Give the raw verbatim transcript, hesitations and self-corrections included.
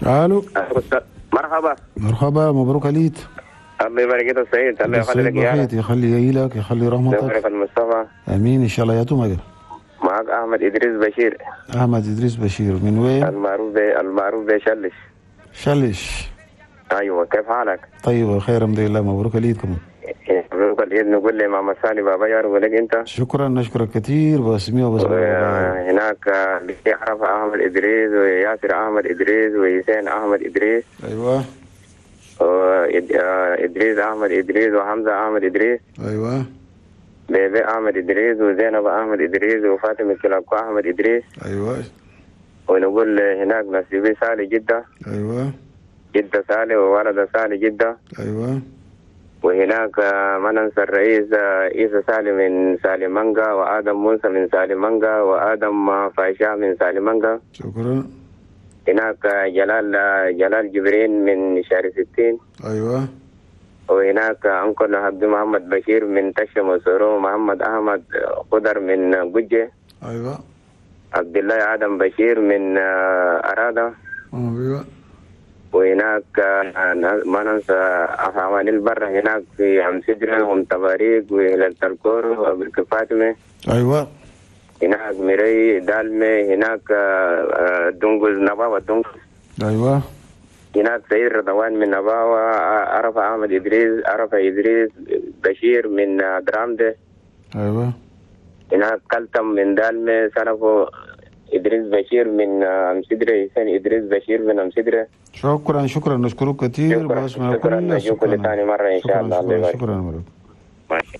الو. مرحبا. مرحبا، مبروك عليك. الله يبارك فيك السيد، الله يخلي لك اياك، يخلي لك، يخلي رحمتك، يبارك المصطفى. امين ان شاء الله. يا توماجر معك احمد ادريس بشير. احمد ادريس بشير من وين؟ المعروف ب... المعروف بشلش. شلش. ايوه، كيف حالك؟ طيب بخير الحمد لله. مبروك العيد. مبروك العيد. نقول لماما سالي بابا يا ولك انت. شكرا، نشكرك كثير. باسمي وباسم هناك عرفة احمد ادريس وياسر احمد ادريس وحسين احمد ادريس. ايوه. ادريس احمد ادريس وحمزة احمد ادريس. ايوه. بيبي احمد ادريس وزينب احمد ادريس وفاطمة كلاكو احمد ادريس. ايوه. ونقول هناك نسيبي سالي جده. ايوه. جده سالي وولد سالي جده. ايوه. وهناك ما ننسى الرئيس عيسى سالي من سالي مانجا، وادم موسى من سالي مانجا، وادم فايشا من سالي مانجا. شكرا. هناك جلال جلال جبرين من شهر ستين. ايوه. وهناك أنكل عبد محمد بشير من تشم وسورو، محمد أحمد خضر من قجة. ايوه. عبد الله آدم بشير من أرادة. ايوه. وهناك ما ننسى أحوال البر هناك في عم سدرة وام تباريك وهلال تلكور وأبو فاطمة. ايوه. هناك ميري دالمي، هناك دنقز نباوة دنقز. ايوه. هناك سيد رضوان من نباوة، عرفة أحمد إدريس، عرفة إدريس بشير من درامدة. أيوة. هناك كلتم من دالمة، سلفو إدريس بشير من أمسدرة، حسين إدريس بشير من أمسدرة. شكرا شكرا، نشكرك كثير. شكرا شكرا، نشوفك ثاني مرة إن شاء الله. شكرا شكرا. ماشي.